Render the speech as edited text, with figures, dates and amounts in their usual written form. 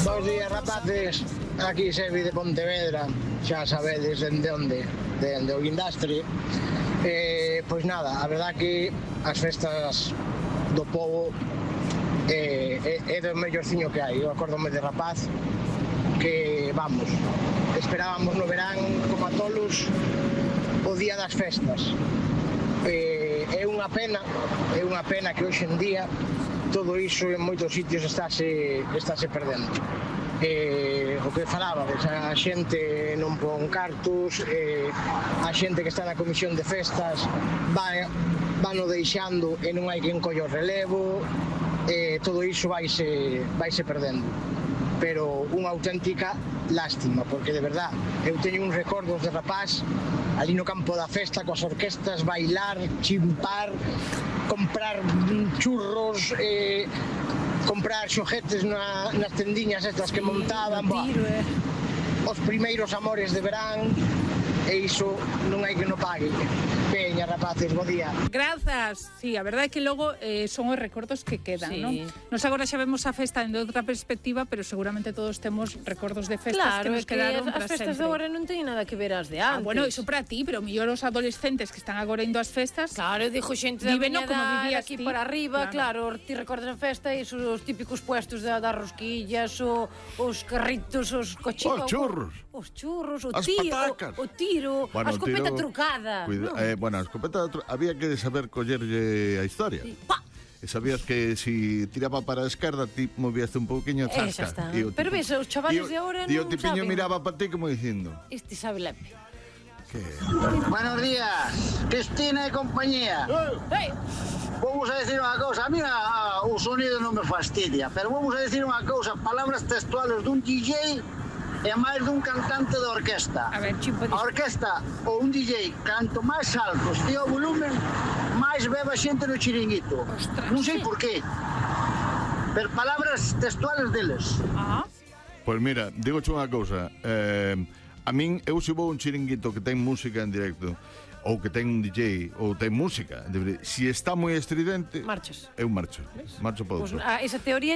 Bos días, rapaces. Aquí Sebi de Pontevedra. Xa sabedes dende onde, dende o Guindastre. Pois nada, a verdad que as festas do povo é do mellorciño que hai. Eu acórdome de rapaz que, vamos, esperábamos no verán como a tolos o día das festas. É unha pena que hoxe en día todo iso en moitos sitios estáse perdendo. O que falabades, a xente non pon cartos, a xente que está na comisión de festas vano deixando e non hai quen colle o relevo, todo iso vaise perdendo. Pero unha auténtica lástima, porque de verdad eu teño uns recordos de rapaz ali no campo da festa coas orquestas, bailar, chimpar, comprar churros, comprar xoguetes nas tendiñas estas que montaban, os primeiros amores de verán, e iso non hai que no pague. Veña, rapaces, bo día. Grazas. Sí, a verdade é que logo son os recordos que quedan, non? Nos agora xa vemos a festa de outra perspectiva, pero seguramente todos temos recordos de festas que nos quedaron para sempre. Claro, é que as festas de agora non teñen nada que ver as de antes. Bueno, iso para ti, pero mellor os adolescentes que están agora indo ás festas. Claro, dixo xente da miña edad aquí para arriba, claro, ti recordas a festa e os típicos puestos das rosquillas, os carritos, os cochitos, os churros, o tiro, a escopeta trucada. Bueno, a escopeta había que saber collerlle a historia. E sabías que si tiraba para a esquerda ti movías un pouquiño a zasca. Pero ves, os chavales de ahora non saben. E o tipiño miraba para ti como dicindo este sabe lepe. Buenos días, Cristina e compañía. Vamos a decir unha cousa, a mí o sonido non me fastidia, pero vamos a decir unha cousa, palabras textuales dun DJ e máis dun cantante de orquesta. A orquesta ou un DJ, canto máis alto estea o volumen, máis bebe a xente no chiringuito. Non sei por qué, pero palabras textuales deles. Pois mira, digoche unha cousa, a min, eu se vou un chiringuito que ten música en directo, ou que ten un DJ, ou ten música, se está moi estridente, eu marcho para outro. Esa teoría